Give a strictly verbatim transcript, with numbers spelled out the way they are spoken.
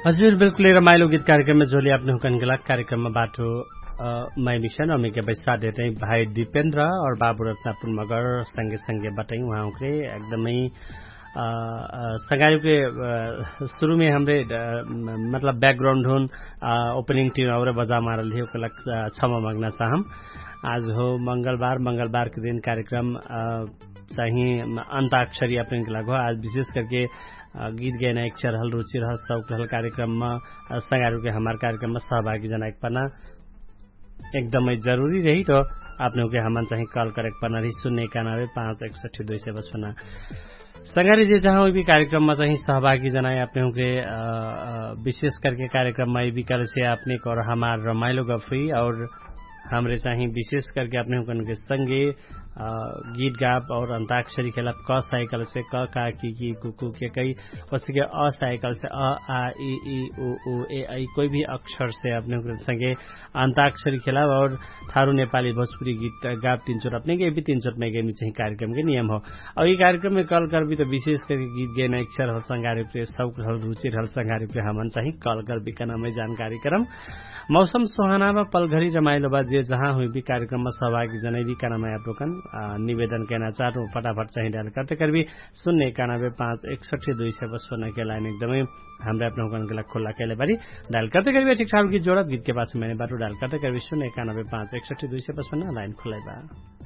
हजुर बिल्कुलै रमाइलो गीत कार्यक्रममा झोली आपने हुँकन गेला कार्यक्रममा बाटो। मै मिसन अमिके बैसा देतै भाइ दिपेन्द्र और बाबु रत्नापुर मगर संगे संगे बटै उहाँ हुँकरे एकदमै संगारी के सुरुमे हमरे मतलब ब्याकग्राउन्ड हुन ओपनिङ टिम और बजा मारल हि ओकला। क्षमा माग्ना चाहम। आज हो मंगलबार मंगलबार के दिन कार्यक्रम चाहि अन्ताक्षरी अपने के लाग हो आज विशेष करके गीत गैना एक चरहल रुचि रहल शौक रहल कार्यक्रममा संगारू के हमार कार्यक्रममा सहभागी जनाएक पना एकदमै जरुरी रही त। आपने उके हमन चाहि कल करेक पना रही सुन्ने एकानबे पाँच एकसठी दुई सय बसपना संगारी जे जहाँ उइबी कार्यक्रममा चाहि सहभागी जनाए आपने उके विशेष करके कार्यक्रममा इबी कलसे आपने कर हमार रमाइलो गफुई और हमरे चाहि विशेष करके आपने उकन के संगे गीत गाप और अन्ताक्षरी खेलब क साइकल से क का कि कि कुकु के कई ओसके अ साइकल से अ आ इ इ उ उ ए ऐ कोई भी अक्षर से अपने संगे अन्ताक्षरी खेलब और थारु नेपाली भोजपुरी गीत गाप तीन चोट अपने के भी तीन चोट में गेमी चाहि कार्यक्रम के नियम हो। और ये कार्यक्रम में कल करबी त विशेष करके गीत गैना इच्छा रहल संगारी पे शौक रहल रुचि रहल संगारी पे हमन चाहि कल करबी कना में जानकारी करम। मौसम सोहाना बा पलघरी रमाइलो बा जे जहाँ हुइबी कार्यक्रममा सहभागी जनैबी कना में आपलोकन निवेदन कैना चाहत हूँ फटाफट चाहि डायल करते करबी सुन्ने एकानबे पाँच एकसठी दुई सय बसपना के लाइन एकदमै हमरा अपने हुकन के लाग खुल्ला कैले बारी। डायल करते करबी ठीक ठाक गीत जोडत गीत के पास मैंने बाटो डायल करते करबी सुन्ने एकानबे पाँच एकसठी दुई सय बसपना लाइन खुल्ला बा।